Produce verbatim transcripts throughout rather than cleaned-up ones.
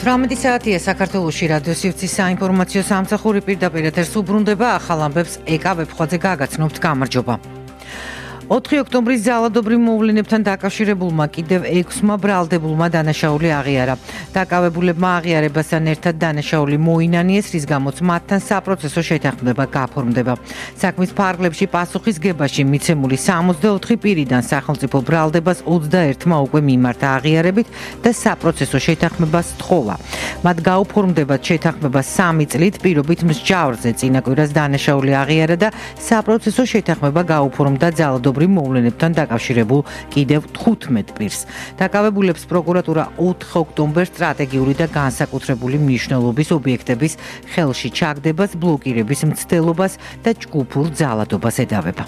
ათრამეტი საათია საქართველოში რადიო სივრცის საინფორმაციო სამსახური პირდაპირ ეთერს უბრუნდება ახალ ამბებს ეკა ვებხვაძე გაგაცნობთ გამარჯობა. ოთხი ოქტომბრის ძალადობრივ მოვლენებთან დაკავშირებულმა კიდევ ექვსმა ბრალდებულმა დანაშაული აღიარა. დაკავებულებმა აღიარებასთან ერთად დანაშაული მოინანიეს, რის გამოც მათთან საპროცესო შეთანხმება გაფორმდება. საქმის ფარგლებში პასუხისგებაში მიცემული სამოცდაოთხი პირიდან სახელმწიფო ბრალდებას ოცდაერთმა უკვე მიმართა აღიარებით და საპროცესო შეთანხმებას თხოვა. მათ გაუფორმდებათ შეთანხმება სამი წლით, პირობით მსჯავრზე წინა კვირას დანაშაული აღიარა და საპროცესო შეთანხმება გაუფორმდა ძალადობრივ მოვლენებთან დაკავშირებულ კიდევ თხუთმეტ პირს. დაკავებულებს პროკურატურა ოთხ ოქტომბერს სტრატეგიული და განსაკუთრებული მნიშვნელობის ობიექტების ხელში ჩაგდებას, ბლოკირების მცდელობას და ჯგუფურ ძალადობას ედავება.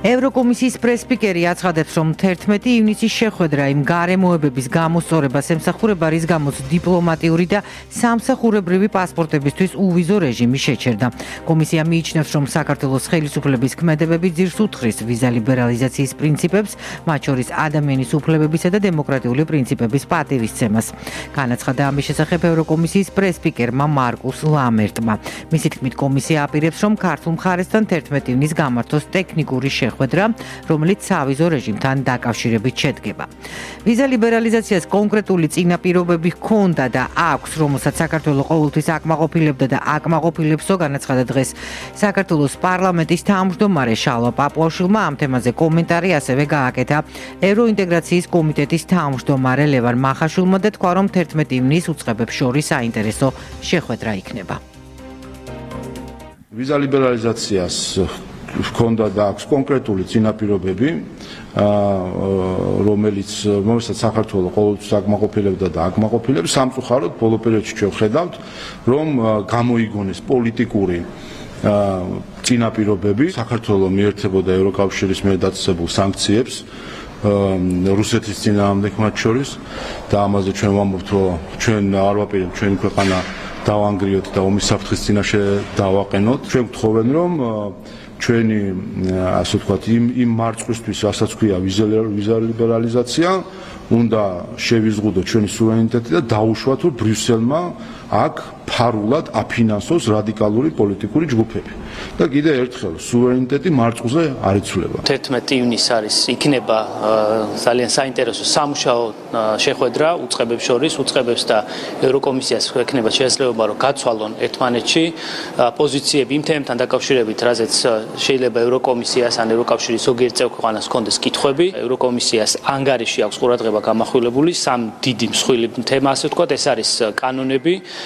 ევროკომისიის პრესსპიკერი აცხადებს, რომ თერთმეტი ივნისის შეხვედრა იმ გარემოებების გამოსწორებას ემსახურება, რის გამოც დიპლომატიური და სამსახურებრივი პასპორტებისთვის უვიზო რეჟიმი შეჩერდა. კომისია მიიჩნევს, რომ საქართველოს ხელისუფლების ქმედებები ძირს უთხრის ვიზა ლიბერალიზაციის პრინციპებს, მათ შორის ადამიანის უფლებებისა და დემოკრატიული პრინციპების პატივისცემას. განაცხადა ამის შესახებ ევროკომისიის პრესსპიკერმა მარკუს ლამერტმა. მისი თქმით, კომისია აპირებს, რომ ქართულ მხარესთან თერთმეტი ივნის გამართოს ტექნიკური შეხვედრა, რომელიც სავიზო რეჟიმთან დაკავშირებით შედგება. ვიზა ლიბერალიზაციას კონკრეტული წინაპირობები ჰქონდა და აქვს, რომელსაც საქართველოს ყოველთვის აკმაყოფილებდა და აკმაყოფილებსო, განაცხადა დღეს საქართველოს პარლამენტის თავმჯდომარე შალვა პაპუაშვილმა. ამ თემაზე კომენტარი ასევე გააკეთა ევროინტეგრაციის კომიტეტის თავმჯდომარე ლევან მახაშვილმა და თქვა, რომ თერთმეტი ივნის უწყებებს შორის საინტერესო შეხვედრა იქნება. ვიზა ლიბერალიზაციას ჰქონდა და აქვს კონკრეტული წინაპირობები, რომელიც რომელსაც საქართველოს ყოველთვის აკმაყოფილებდა და აკმაყოფილებს. სამწუხაროდ ბოლო პერიოდში ჩვენ ხედავთ, რომ გამოიგონეს პოლიტიკური წინაპირობები. საქართველოს მიერთებოდა ევროკავშირის მიერ დაწესებულ სანქციებს რუსეთის წინააღმდეგ მათ შორის და ამაზე ჩვენ ვამბობთ, რომ ჩვენ არ ვაპირებთ ჩვენი ქვეყანა დავანგრიოთ და ომის საფრთხის წინაშე დავაყენოთ. ჩვენ გთხოვენ, რომ ჩვენი ასე ვთქვათ იმ იმ მარწყვისთვის, რასაც ქვია ვიზა ლიბერალიზაცია, უნდა შევიზღუდოთ ჩვენი სუვერენიტეტი და დაუშვათ, რომ ბრიუსელმა აქ ფარულად აფინანსოს რადიკალური პოლიტიკური ჯგუფები. და კიდევ ერთხელ სუვერენიტეტი მარწყვზე არ იცვლება. თერთმეტი ივნის არის იქნება ძალიან საინტერესო სამუშაო შეხვედრა უწყებებს შორის, უწყებებს და ევროკომისიას ექნება შესაძლებლობა, რომ გაცვალონ ერთმანეთში პოზიციები იმ თემებთან დაკავშირებით, რაზეც შეიძლება ევროკომისიას ან ევროკავშირის ზოგიერთ წევრ ქვეყანას ჰქონდეს კითხვები. ევროკომისიას ანგარიში აქვს ყურადღება გამახვილებული სამ დიდი მსხვილი თემა, ასე ვთქვათ, ეს არის კანონები,